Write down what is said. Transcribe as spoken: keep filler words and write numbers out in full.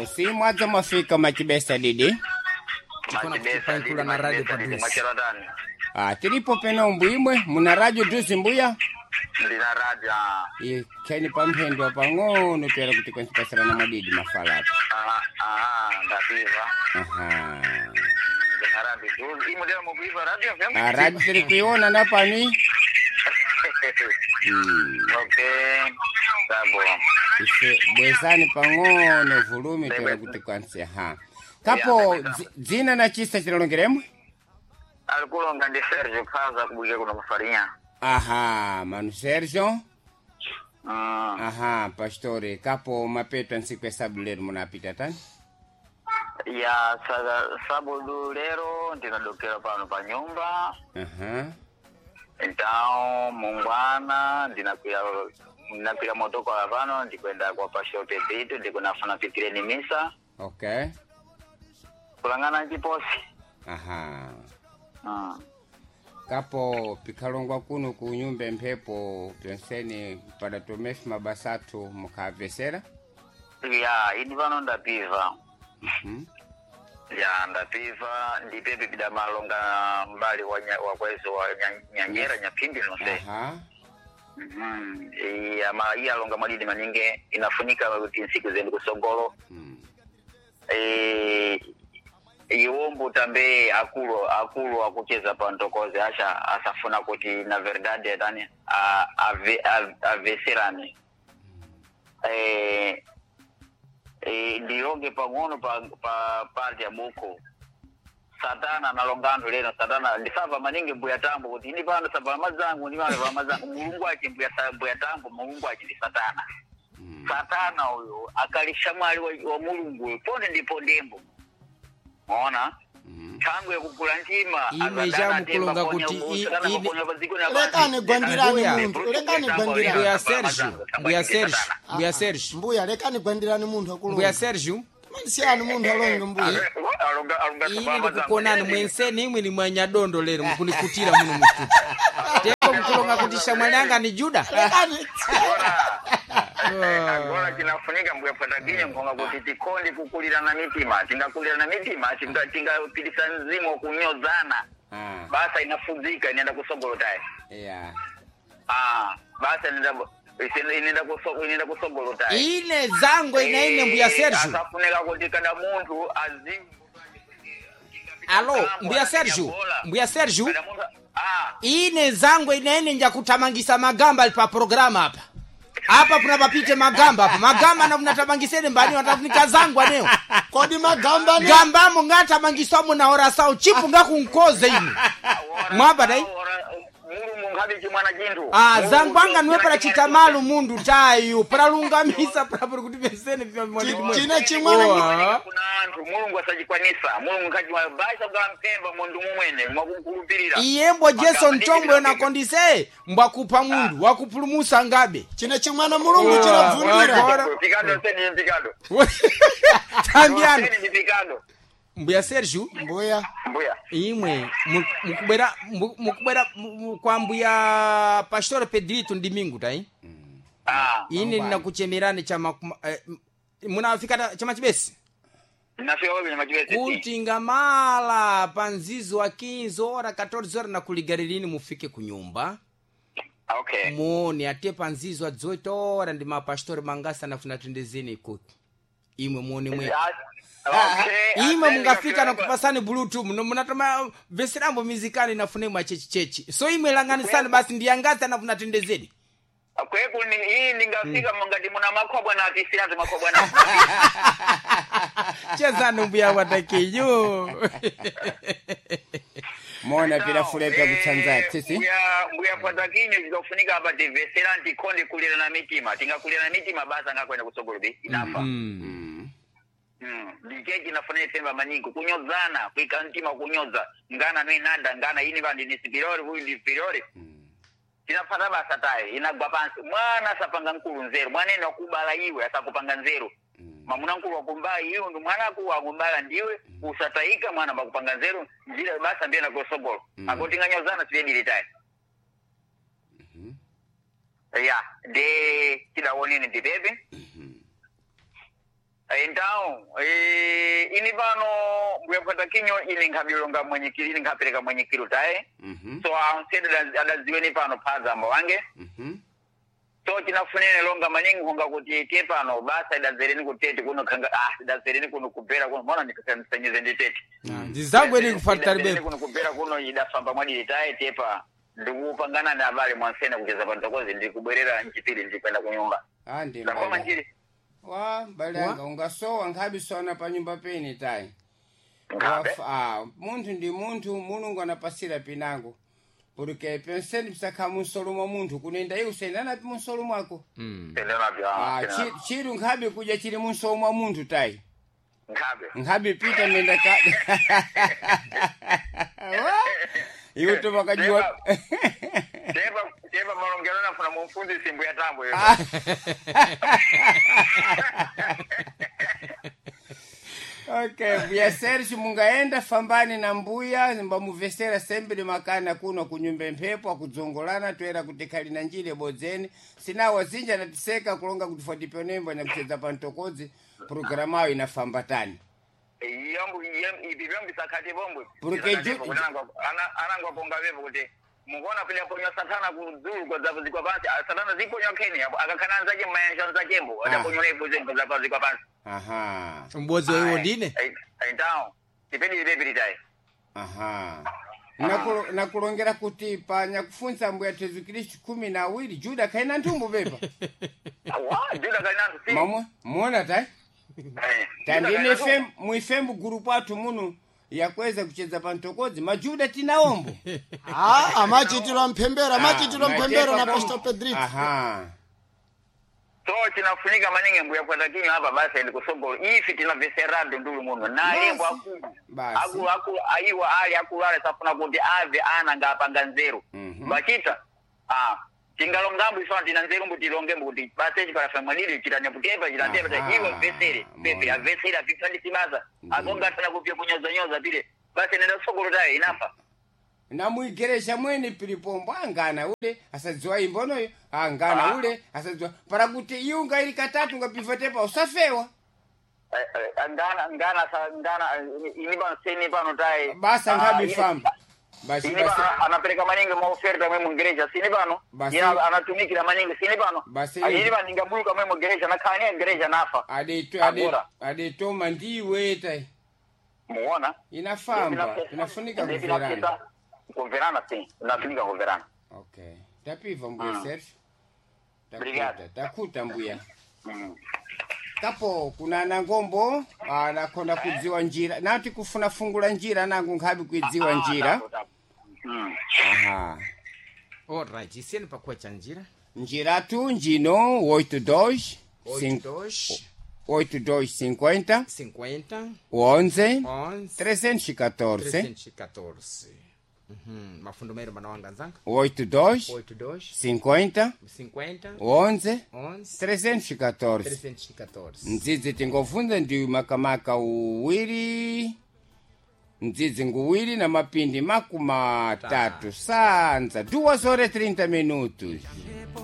Si mwadza mwafika machibesa didi. Tikona Machibesa kuchipaikula didi, na radio machibesa didi, padusi. mwachera tani. Ah, tilipo peno mbwimwe muna radio duzi mbuya. Ndina radio. ah. Ikheni pamphendo pang'ono pera kuti kwanipasirana mwadidi mafalapo. Ah, ah, ndapiva. Aha. Ndina radio duzi. Imwe lero mukuiva radio F M? Ah, radio tiri kuiona napani. Mm. Okay. Sabo. Ife bwezani pang'ono vulumi pera kuti kwansi ha. Kapo dzi- dzina na chisa chilongeremwe? Alikulonga ndi Sergio Kaza kubuke kuno kufarinha. Aha, mano Sergio. Mm. Aha, pastore, kapo mapeto nsiku ya sabu lero munapita tani? Ya sa, sabudu lero ndinadokera pano pa nyumba. Aha. Então, mungwana ndinakwira ndinakwira motokola pano ndikwenda kwa pastor Pedrito ndikunafuna pitireni misa Okay. kulangana chiposi. Aha. Mm. Kapo pikhalongwa kuno ku nyumba mphepo pyonseni padatomefi mabasathu mukhavesera. Ya, ini pano ndapiva. Mhm. Ya, ndapiva ndipepe pidamalonga mbali wa, nya, wa kwezo wa nya- nyanyera nyaphimbi nonse. Aha. Mhm. Iya, ma iya alonga mwadidi maninge inafunika kuti nsiku zenu kusogolo. Mm. Eh, iwombo tambe akulu akulu akucheza pa ntokoze asha asafuna kuti na verdade tani a- ave- ave- aveserane eh, eh, ndilonge pang'ono pa, pa parte ya buku satana nalonga anthu lero satana ndisava maningi mbuya tambo kuti ini pano sava mazangu ndi pano va mazangu mulungu achi mbuya, sa- mbuya tambo mulungu achi ndi satana Mm. satana uyo akalisha mwali wa, wa mulungu uyo ponde ndipo ndembo maona Mm. thangwe yakugula ntima Ime chamukulonga kuti i- ine- Lekani gwandirani Mbuya. munthu, lekani gwandirani. Mbuya Sergio, Mbuya Sergio, Mbuya Sergio, Mbuya lekani gwandirani munthu Mbuya akulonga. Sergio, Siyani munthu alonge mbuya. ine ndikukonani mwenseni imwe ni mwanyadondo lero mukunikutira muno mustudio. Teko mkulonga kuti shamwali anga ni Juda. Lekani. agora chinafunika mbuya patakinye nkhonga kuti tikondi kukulirana mitima tingakulirana mitima tinga- tingapitisa mzimu wakunyozana Ah. basa inafudzika inaenda kusogolo tayi Yeah. Ah, basa inaenda inaenda kuso- inaenda kusogolo tayi Ine zango ine ine Mbuya Sergio. asafunika kuti kada munthu azi Alo, Mbuya Sergio, Mbuya Sergio. Kada munthu ah Ine zango ine ine njakutamangisa magamba ali pa programa apa. Apa puna papite magamba apa. Magamba na munatamangisene mbani watafunika zangu aneo. Kodi magamba ne. Gambamo ngatamangiswamo na ora sao chipu ngakunkoze inu. Mwapa dai? mulungu nkhabe chimwana chinthu Ah, zangu anga niwe pala chitamalu mundu tayu pala lungamisa pala pali kuti pesene China chimwana Owa. kuna anthu mulungu asachikwanisa mulungu nkhachi basa kugala mpemba mundu mumwene mwakumkhulupirira iyembo jason chombo yonakondise mbwakupha mundu wakupulumusa ngabe Chine chimwana mulungu chinabvundira. Ora. pikado seni pikado tambiano seni ndi pikado mbuya sergio Mbuya. mbuya imwe mu- mukubwera mu- mukubwera mu- mu- kwa mbuya pastor pedrito ndimingu tai ah ine ndinakuchemerani chama eh, munafika ta- chama chibesi nafika wewe machibese kuti ngamala pa mzizi wa quinze ora catorze ora nakuligarilini mufike kunyumba okay muone ate pa mzizi wa dezoito ora ndi mapastori mangasa nafuna tendezeni ikuku imwe muone mwe okay imwe mungafika nakupasani bluetooth muno munatoma veserambo mizikani nafune mwa chechichechi so imwe langanisani basi ndiyangasa nafuna tendezeni kweku ni hii ningafika mungati muna makhobwa na atisirazi makhobwa na chezani mbuya watakiyo Mona pira fulepa kutsanza tsitsi. mbuya mbuya patakinyo zikafunika apa tivesera ntikhonde kulira na mitima tingakulira na mitima basa ngakwenda kusogolo be inafa Mm. Mm, ndiche chinafanira pemba maningi kunyozana kuika mtima kunyoza ngana noinanda ngana ini vanhu ni sipirori huyu ndi sipirori tinafata basa tayi inagwa pansi mwana asapanga nkulu nzeru mwana ene wakubala iwe asakupanga nzeru mamuna nkulu wakumbala iwe ndi mwana aku wakumbala ndiwe usatayika mwana bakupanga nzeru njira basa ndiye nakosogolo Mm. akotinganyozana siyedile tayi ya de tidawoneni ndipepe Então, eh, ini pano mbuya kupata kinyo ini nkhabilonga mwenyekiri ini nkhapereka mwenyekiri taye. Mhm. So ansede adaziweni pano phaza amba wange. Mhm. So tinafunene longa maningi honga kuti tie pano basa idazereni kutete kuno khanga ah idazereni kuno kubhera kuno mona ndikasanyize nditete. Ndizangweni kufatari Idazereni bepo. kuno kubhera kuno idafamba mwadiri taye tepa ndikupangana na abale mwansene kucheza pantokozi ndikubwerera nchipiri ndikwenda kunyumba. Ah, ndi Ndakoma mbale. njiri. Wa mbale yanga ungasowa nkhabi sona pa nyumba pene tayi. Nkhabe. Wafa- ah, munthu ndi munthu, mulungu anapasira pinango porque penseni pisakha munsolo mwa munthu kunenda iwe usendanapi munsolo mwako. Tendenapyo. Ah, chi- chiru nkhabi kuja chili munsolo mwa munthu tayi. Nkhabe. Nkhabi pita menda ka Wa? Iwe tomakajiwa. Tepa tepa malongero nafuna mumfunzisi mbuya tambo iyo. Okay, mbuya Sergio mungaenda fambani na mbuya mbamuvesera sembe makana kuno kunyumba mphepo akudzongolana toera kuti khali na njile bodzeni sinawa zinja natiseka kulonga kuti fotipionembo nyakuchedza pa mtokodzi programayo inafamba tani. Yombo ipi vyombi sakati bombwe. Porque ju- anangwa ponga vepo kuti mukuona pile ponywa satana kudzulu kwa zapo zikwa pansi. Ah, satana ziponywa keni apo akakhana anzake mmayanja anzakembo adaponywa ipo zembo zapo zikwa pansi. Aha. Mbodzi wa iwo ndine. Então tipedi ipepiri tayi. Aha. Nakulo- nakulongera kuti pa nyakufunsa mbuya Yesu Kristu kumi na awiri Juda kaina nthumbu pepa. Wa Juda kalinantu si. Mamwe muona tayi. Eh, Juda Tandine kalinantu. fem muifembu gurupu athu muno yakweza kuchedza pa mtokodzi majuda tinaombo. Ah, amachitira mphembero amachitira mphembero na Matepa Pastor Pedrito. Aha. So chinafunika maningi mbuya kwenda kinyo hapa basi ndi kusogolo ifi tinaveserado ndulu muno nalembo akulu Basi. akulu akulu aiwa ali akulu ale safuna kuti ave ana ngapanga nzeru. Mhm. Vachita ah tingalongambo ifana tina nzeru mbuti tilongembo kuti basi echi parafa mwadili chitanyaputepa chitantepa Aha. iwe vesere pepe Mona. avesere apipandisi basa Ndiyo. akongatana kupya kunyozanyoza pile basi nenda kusogolo tayo inafa. Na muigereja mwene pilipombo angana ule asadziwa imbonoyo angana Ah. ule asadziwa para kuti iunga ili katatu ngapivatepa usafewa. Eh, eh, ngana ngana sa ngana eh, ini pano seni pano tayi. Basa Ah, nkhabi ini- famba basi sini basi pano anapereka maningi maoferta mwe mungereja sini pano. Basi- Ina anatumikira maningi sini pano. Basi- ini pano ingabuluka mwe mungereja nakhani ngereja nafa. adeto ade Agora. adetoma ndiwe tai. Muona Inafamba inafunika kuverana. Kuverana si inafunika kuverana. Okay, tapiva mbuya Ah. Sergio. Obrigado. Takuta takuta mbuya. Mm. Kapo kuna nangombo anakonda kudziwa njira nati kufuna fungula njira nangu nkhabi kuidziwa Ah, njira. tapo, tapo. Mm. Aha. Alright, isiyeni pakuwa cha njira. Njira tu njino oito dois oito dois oito dois cinquenta cinquenta onze onze trezentos e catorze trezentos e catorze. Uhum. Mafundo meiro manawanga nzanga. oito dois oito dois cinquenta cinquenta onze onze trezentos e catorze. trezentos e catorze. Ndzidzi tingovunda ndi makamaka uwiri ndzidzi nguwiri na mapindi makumi atatu sanza duas horas e trinta minutos.